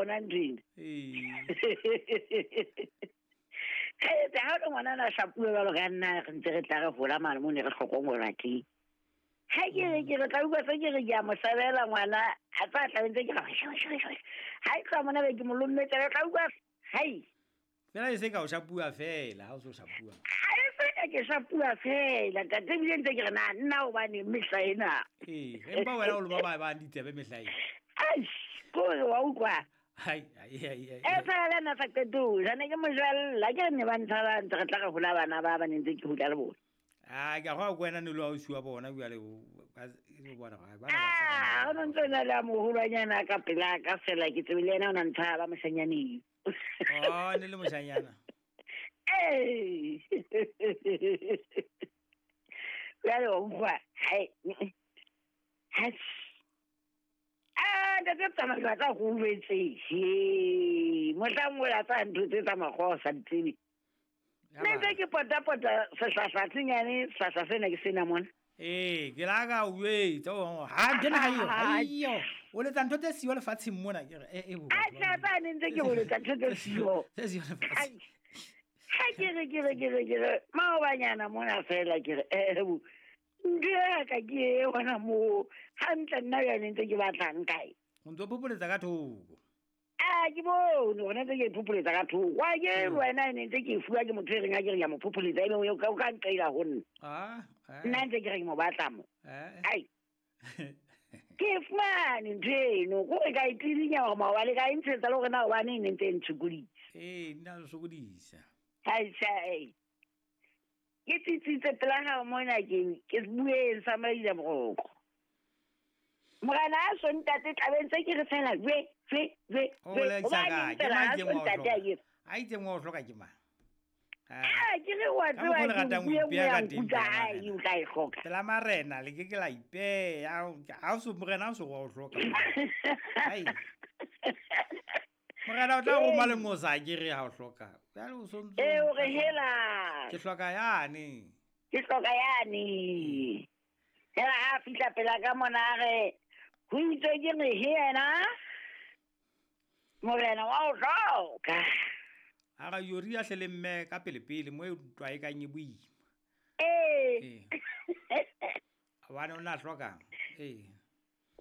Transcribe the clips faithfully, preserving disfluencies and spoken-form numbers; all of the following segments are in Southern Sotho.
bona nthwena. Ee ha o ngwana na shapuwe jwalo ka nna re ntse re tla re hola mane mo ne re hlokomolwa teng. Ha ke re ke re tla utlwa se ke re ke a mo sebela ngwana a tsa tla ntse ke re ha e tla mona be ke mo lommetse re tla utlwa hai. Fela e se ka o shapuwa fela ha o so shapuwa. Ha e se ka ke shapuwa fela ntate ebile ntse ke re na nna hobane mehla ena. Ee, empa wena o loma ba ba ditsebe mehla ena. Ai, ko wa utlwa. Hai, ai ai ai. E fela nna sa qeto, jane ke mo jwalla ke ne ba ntshaba ntse re tla re hola bana ba ba ne ntse ke hula le bona. Ah, ke go kwena ne lo ausi wa bona bjale ba bona ga ba. Ah, o ntse na le moholwanyana ka pela ka fela ke tsebile yena o na ntshaba moshanyaneng. Oh, ne le moshanyana. Eh. Bjale o utlwa, hai. Hai. Ah, ntate tsamaya ka go ubetse. He, mohlang o la tsa ntho tse tsa makgowa sa di tsebe. Nne ntse ke pota-pota sehlahla senyane, sehlahla sena ke sena mona. Ee, ke la ka o etsa ha ke na yo, aiyo. O letsa ntho tse siyo lefatsheng mona ke re e e bo. A tla ba ne ntse ke ho letsa ntho tse siyo. Tse siyo lefatsheng. Ha ke re ke re ke re ke re maobanyana mona fela ke re eh bo. Ntho ya ka ke e hona moo hantle nna jwale ntse ke batlang kae. O ntso phopholetsa ka thoko. Ah, ke bone hona ntse ke phopholetsa ka thoko. Wa ke wena ne ntse ke fuwa ke motho e reng a ke re ya mo phopholetsa ebe o ka o ka nqela ho nna. Ah, eh. Nna ntse ke re ke mo batla mo. Eh. Ai. Ke fumane ntho eno, ko re ka e tlilinya hore maobane ka e ntshetsa le hore na hobane e ne ntse e ntshokodisa. Ee, nna o sokodisa. Hai sai. Ke tsitsitse pela hao mona ke ke bueng sa maile boroko. Morena a so ntate tlabeng tse ke re fela we we we. O bolekisa ka ke mang ke mo hloka. A itse mo hloka ke mang? Ah, ke re wa tseba ke bue mo ya nkutlwa ai o tla e hloka. Pela marena le ke ke la ipeya ha o so morena o so wa o hloka. Ai. Morena o tla roma lengosa ke re ha o hloka. Jwale o so ntso. Eh o re hela. Ke hloka yane. Ke hloka yane. Hela ha fihla pela ka mona re ho itse ke re he yena. Morena wa o hloka. Ha ra yori a hle le mme ka pele pele mo e ntwa e kang e boima. Eh. A bana o na hloka. Eh.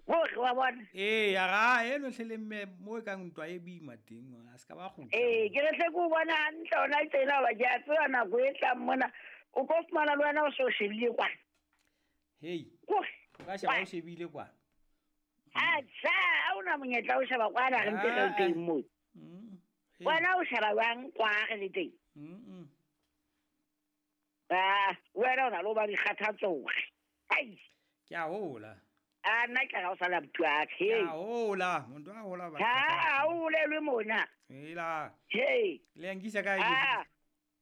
Bohle wa bona. Ee, ya ra eno hle le mme mo e kang ntwa e boima teng, a se ka ba kgutla. Ee, ke re hle ke o bona hantle hona tsena hoba ke a tseba nako e tlang mona. O tlo fumana le wena o so shebile kwana. Hei. O ka sheba o shebile kwana. Atjha, ha o na monyetla o sheba kwana re ntse re le teng moo. Wena o sheba jwang kwa re le teng? Mm. Ah, wena o na le ho ba dikgathatso. Ai. Ke a hola. A nna ke ga o sala motho wa ka. Ke a hola, motho a hola ba. Ha, o holelwe mona. Hela. Hei. Le nkisa kae? Ah.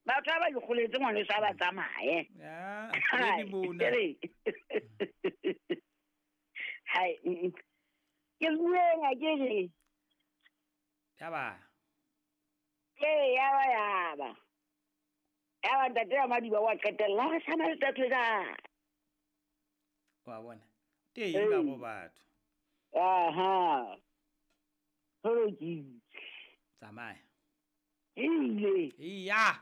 Batho ba ikgoletse ngwaneso ha ba tsamaye. Ya, ke mona. Hai. Ke bueng a ke re. Ya ba. Ee, ya ba ya ba. Ya ba ntate wa Madiba wa qetella re sama le tatwe ka. Wa bona. Teng ka go batho. Aha. Ho lokile. Tsamaya. Ile. Iya.